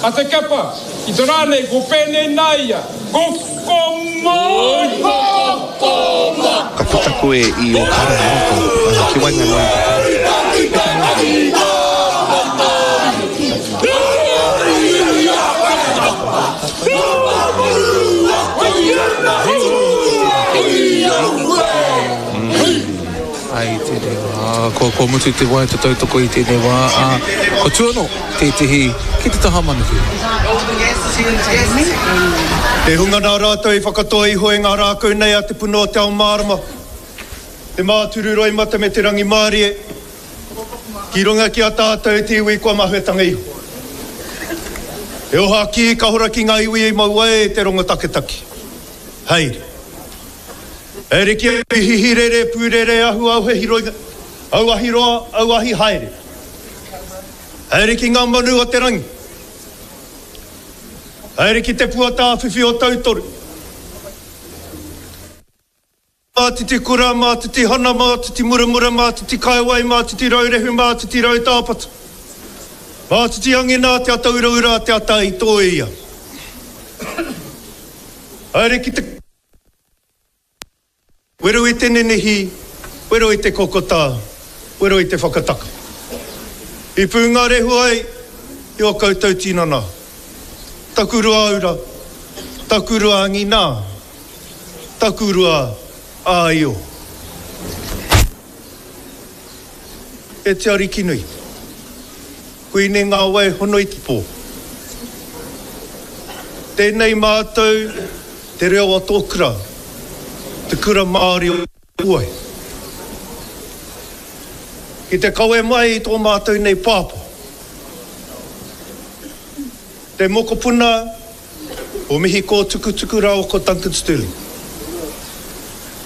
A Te Kepa, i te rā nei ko pēnei nā ia, Ko ko mai! Ko ko mai! Ka puta koe i ō karaehe roto, ki waenganui i te tangata. Me te mōhio. Ai tēnei wā, kua, kua mutu te waiata tautoko i tēnei wā, ā, kua tū anō tētehi ki te taha manuhiri. Te hunga nā rātou i whakatoa iho i ngā rākau nei a te puna o te ao mārama, te māturu roimata me te rangimārie, ki runga ki a tātou te iwi kua mahuetanga iho. He oha kī ka hora ki ngā iwi i mau ai te rongo taketake. Haere. Haere ki a hihi rere, pūrere, ahu auhe hiroinga, auahi roa, auahi haere. Haere ki ngā manu o te rangi. Haere ki te pua tāwhiwhi o Tautoru. Mātiti kura, mātiti hana, mātiti muramura, mātiti kaiwai, mātiti raurehu, mātiti rautāpata. Mātiti angina te ata uraura te ata i tōia. Haere ki te wero i te ninihi, wero i te kokota, wero i te whakataka. I pūngārehu ai i ō koutou tinana. Taku ruaura, taku ruaangina. Takurua āio. E te Arikinui, koinei ngā wai hono i te pō. Tēnei mātou te reo o tō kura, te kura Māori o Puai. Ki te kawe mai i tō mātou nei pāpā, te mokopuna O Mihi Kōtukutuku rāua ko Duncan Stirling.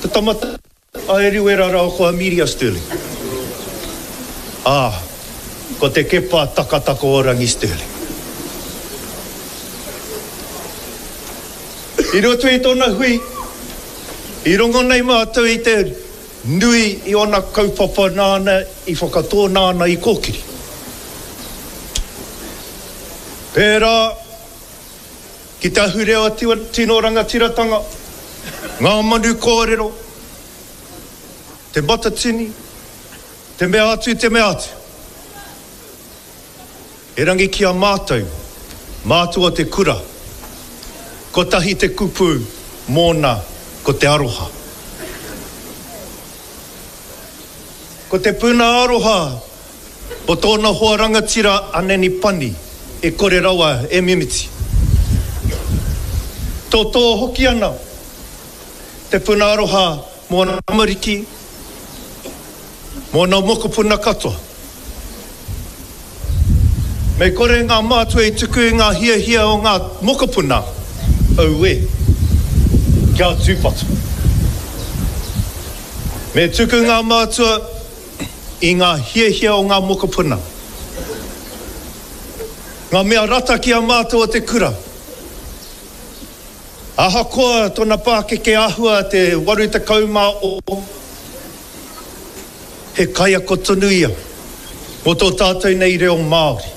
Te tama a Eruera rāua ko Amelia Stirling. Ā, ko Te Kepa Takataka-o-rangi Stirling. I roto i tōna hui, i rongo nei mātou i te nui i ōna kaupapa nāna i whakatō, nāna i kōkiri. Pērā Ki te ahurea tino rangatiratanga, ngā manu kōrero, te matatini, te mea atu, te mea atu. Erangi ki a mātou, mātua te kura, kotahi te kupu mōna ko te aroha. Ko te puna aroha Ko tōna hoa rangatira a Nanny Pani e kore rawa e mimiti. Totō hoki ana te puna aroha mō ana tamariki, mō ana mokopuna katoa. Me kore ngā mātua i tuku i ngā hiahia o ngā mokopuna, auē, kia tūpato. Me tuku ngā mātua i ngā hiahia o ngā mokopuna, ngā mea rata ki a mātou o te kura. Ahakoa tōna pākeke āhua te 86, he kaiako tonu ia mō tō tātou nei reo Māori.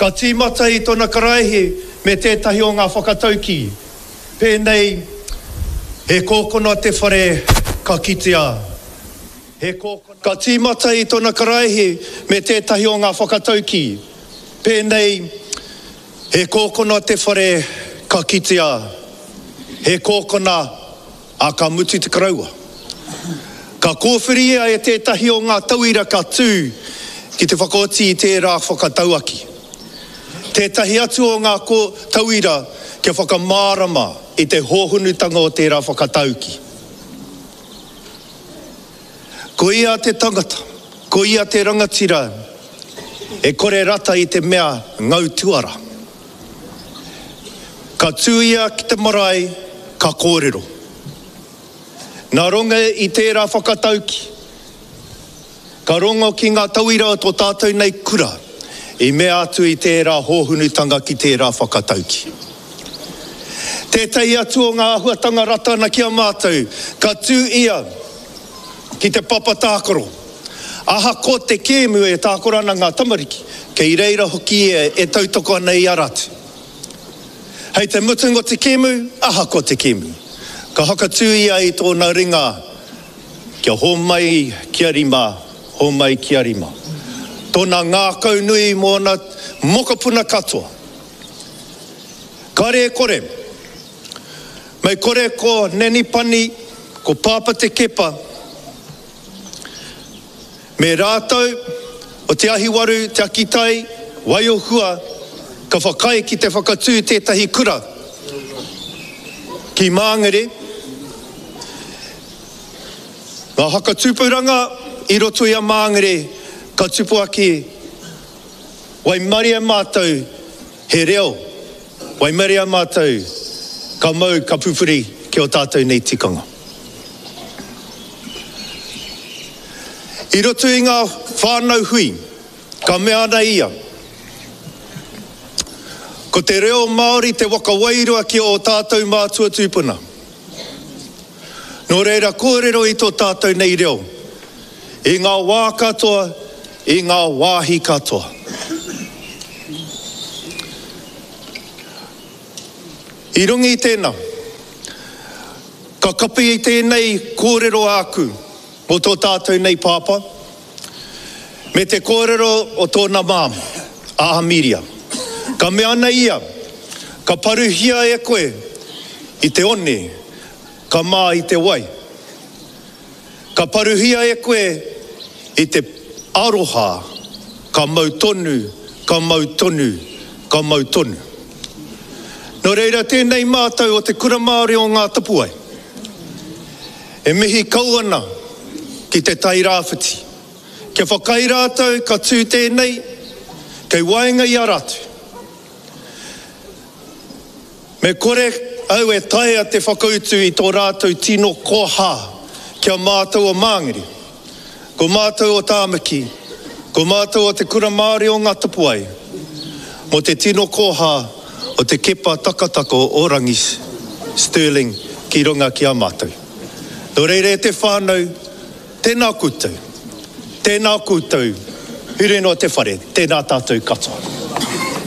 Ka tīmata i tōna karaehe me tētahi o ngā whakataukī, pēnei, He kōkona te whare ka kitea, he kōkona. Ka tīmata i tōna karaehe me tētahi o ngā whakataukī, pēnei, He kōkona te whare ka kitea, he kōkona, ā, ka mutu te karaua. Ka kōwhiria e tētahi o ngā tauira ka tū ki te whakaoti i tērā whakatauaki. Tētahi atu o ngā tauira kia whakamārama i te hōhonutanga o tērā whakatauki. Ko ia te tangata, ko ia te rangatira e kore rata i te mea ngau tuara. Ka tū ia ki te marae, ka kōrero. Nā runga i tērā whakatauki, ka rongo ki ngā tauira o tō tātou nei kura i mea atu i tērā hōhunutanga ki tērā whakatauki. Tētahi atu o ngā āhuatanga rata ana ki a mātou, ka tū ia ki te papa tākaro. Ahakoa te kēmu e tākaro ana ngā tamariki, kei reira hoki ia e tautoko ana i a rātou. Hei te mutunga o te kēmu, ahakoa te kēmu, ka whakatū ia i tōna ringa kia hōmai kia rima, hōmai kia rima. Tōna ngākaunui mō ōna mokopuna katoa. Kare e kore, mei kore ko Nanny Pani, ko Pāpā Te Kepa, Me rātou o Te Ahiwaru, Te Akitai, Waiohua, ka whakaae ki te whakatū tētahi kura ki Māngere, ngā whakatupuranga i roto i a Māngere ka tupu ake, waimarie mātou he reo, waimarie mātou ka mau ka pupuri ki ō tātou nei tikanga. I roto i ngā whānau hui, ka mea ana ia, Ko te reo Māori te waka wairua ki ō tātou mātua tūpuna. Nō reira kōrero i tō tātou nei reo, i ngā wā katoa, i ngā wāhi katoa. I runga i tēnā, ka kapi i tēnei kōrero āku mō tō tātou nei pāpā, me te kōrero o tōna māmā, a Amiria. Ka mea ana ia, Ka paruhia e koe i te one, ka mā i te wai. Ka paruhia e koe i te aroha, ka mau tonu, ka mau tonu, ka mau tonu. Nō reira tēnei mātou o Te Kura Māori o Ngā Tapuwae e mihi kau ana ki Te Tai Rāwhiti kia whakaae rātou ka tū tēnei kei waenga i a rātou. Me kore au e taea te whakautu i tō rātou tino koha ki a mātou o Māngere, ko mātou o Tāmaki, ko mātou o Te Kura Māori o Ngā Tapuwae, mō te tino koha o te kepa takataka o Rangi Stirling ki runga ki a mātou. Nō reira e te whānau, tēnā koutou, tēnā koutou, huri noa te whare, tēnā tātou katoa.